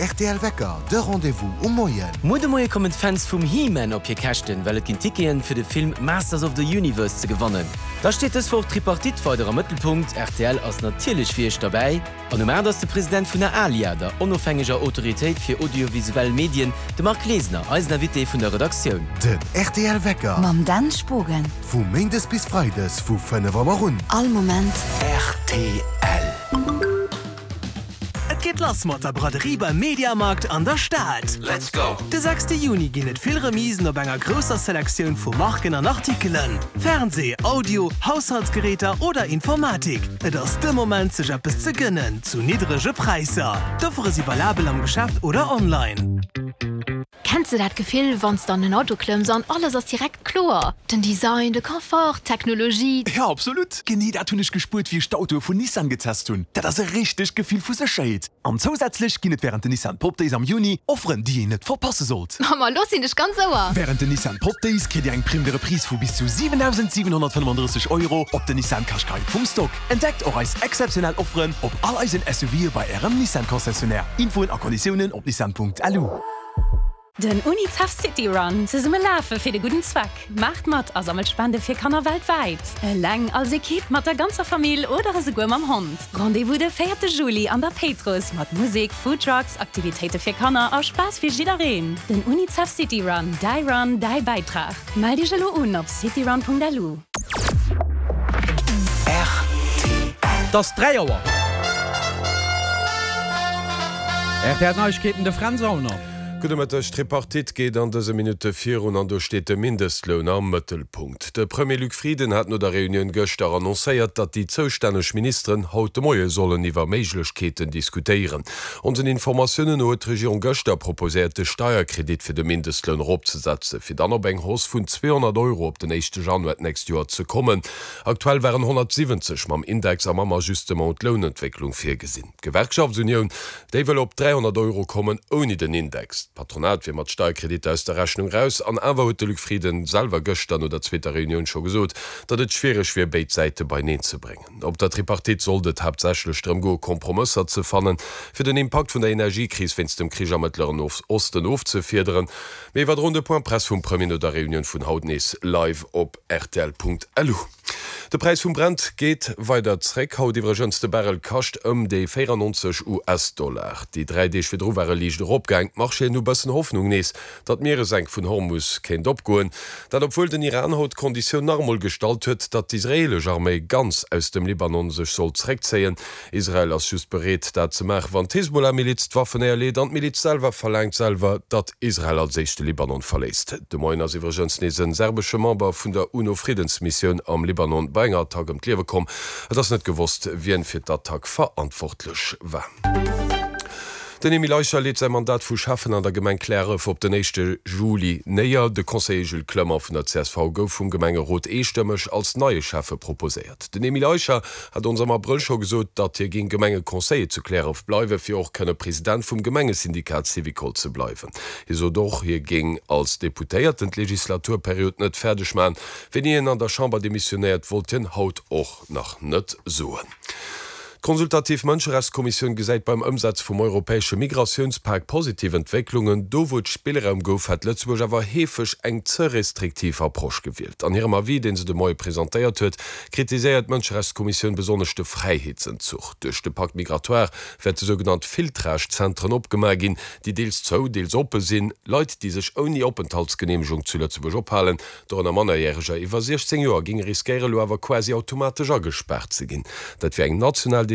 rtl Wecker, de Rendez-vous um Moien. Muer de Moie kommen d'Fans vum He-Man op hir Käschten, well et ginn Ticketen fir de Film Masters of the Universe ze gewannen. Da steet dës Woch d'Tripartite weider am Mëttelpunkt, rtl ass natierlech fir iech derbäi. An um 8 ass de President vun der ALIA, der onofhängeger Autoritéit fir audiovisuell Medien, de Marc Glesener, eisen Invité vun der Redaktioun. Den rtl Wecker. Mam Dan Spogen. Vu Méindes bis Freides vu 5 Auer un. All Moment. Rtl. Et geet lass mat der Braderie beim Mediamarkt an der Stad! Let's go! De sechste Juni ginn et vill Remisen op enger grousser Selektioun vu Marken an Artikelen. Fernsee, Audio, Haushaltsgeräter oder Informatik, et ass de Moment sech eppes ze gënnen zu niddrege Präisser. D'Offere si valabel am Geschäft oder online. Kenns de dat Gefill, wann s de an en Auto klëmms an alles ass direkt kloer? Den Design, de Confort, d'Technologie. Jo, absolut! Genee dat hunn ech gespuert, wéi ech d'Autoe vun Nissan getest hunn. Dat ass e richtegt Gefill vu Sécherheet. An zousätzlech ginn et wärend den Nissan Pop Days am Juni Offeren, déi een net verpasse sollt. Ma lo sinn ech ganz Ouer! Wärend den Nissan Pop Days kritt Dir eng Prime de Reprise vu bis zu 7.735 Euro op den Nissan Qashqai vum Stock. Entdeckt och eis exzeptionell Offeren op all eisen SUVe bei Ärem Nissan Concessionnaire. Infoen a Konditiounen op nissan.lu. Den Unicef City Run, zesumme lafe fir de gudden Zweck. Maacht mat a sammelt Spende fir Kanner weltwäit. Eleng, als Ekipp, mat der ganzer Famill oder esouguer mam Hond. Rendez-vous de véierte Juli an der Péitruss mat Musek, Foodtrucks, Aktivitéite fir Kanner a Spaass fir jiddereen. Den Unicef City Run, däi Run, däi Bäitrag. Mellt iech elo un op cityrun.lu. Et ass 3 Auer. Rtl Neiegkeeten, de Fränz Aulner. Gudde Mëtteg. D'Tripartite geet an dëse Minutte virun an do steet de Mindestloun am Mëttelpunkt. De Premier Luc Frieden hat no der Reunioun gëschter annoncéiert, datt déi zoustänneg Ministeren haut de Moie sollen iwwer Méiglechkeeten diskutéieren. Onsen Informatiounen no huet d'Regierung gëschter proposéiert, de Steierkredit fir de Mindestloun eropzesetzen, fir dann op eng Hausse vun 200 Euro op den éischte Januar d'nächst Joer ze kommen. Aktuell waren 170 mam Index a mam Ajustement un d'Lounentwécklung virgesinn. D'Gewerkschaftsunioun, déi wëll op 300 Euro kommen, ouni den Index. D'Patronat wier mat Steierkreditter aus der Rechnung raus. An awer huet de Luc Frieden selwer gëschter no der zweeter Reunioun scho gesot, datt et schwiereg wier, béid Säite beineen ze bréngen. Op der Tripartite sollt et haaptsächlech drëm goe Kompromësser ze fannen, fir den Impakt vun der Energiekris wéinst dem Krich am Mëttleren Osten ofzefiederen. Mir iwwerdroen de Point Presse vum Premier no der Reunioun vun haut nees live op rtl.lu. De Präis vum Brent geet weider zréck. Haut iwwregens de Barrel kascht ëm déi 94 US-Dollar. Déi 3 Deeg virdru war e liicht eropgaang. D'Marchéen hu bëssen Hoffnung nees, datt d'Mieresenk vun Hormus kéint opgoen. Dat obwuel den Iran haut d'Konditioun nach emol gestallt huet, datt d'israeelesch Arméi ganz aus dem Libanon sech soll zréckzéien. Israel ass just bereet, dat ze maachen, wann d'Hisbollah-Miliz d'Waffen néierleet an d'Miliz selwer verlaangt selwer, datt Israel als éischt de Libanon verléisst. De Moien ass iwwregens nees e serbesche Member vun der UNO-Friddensmissioun am Libanon bei enger Attack ëm d'Liewe komm. Et ass net gewosst, wien fir d'Attack verantwortlech war. Den Emile Eicher leet säi Mandat vu Schäffen an der Gemeng Cliärref op den éischte Juli néier. De Conseiller Jules Clement vun der csv gouf vum Gemengerot eestëmmeg als neie Schäffe proposéiert. Den Emile Eicher hat ons am Abrëll scho gesot, datt hie géing Gemengeconseiller zu Cliärref bleiwen, fir och kënne President vum Gemengesyndikat Syvicol ze bleiwen. Hie sot och, hie géing als Deputéierten d'Legislaturperiod net fäerdeg maachen. Wéini hien an der Chamber demissionéiert, wollt hien haut och nach net soen. D'Consultativ Mënscherechtskommissioun gesäit beim Ëmsetze vum europäesche Migratiounspak positiv Entwécklungen. Do wou et Spillraum gouf, hätt Lëtzebuerg awer heefeg eng ze restriktiv Approche gewielt. An hirem Avis, dee se de Moie presentéiert huet, kritiséiert d'Mënscherechtskommissioun besonnesch de Fräiheetsenzuch. Duerch de Pacte migratoire wäerte sougenannt Filtrage-Zentren opgemaach ginn, déi deels zou, deels oppe sinn. Leit, déi sech ouni Openthaltsgeneemegung zu Lëtzebuerg ophalen, Dorënner Mannerjäreger iwwer 16 Joer géinge riskéiere lo awer quasi automatesch agespaart ze ginn. Dat wier eng national.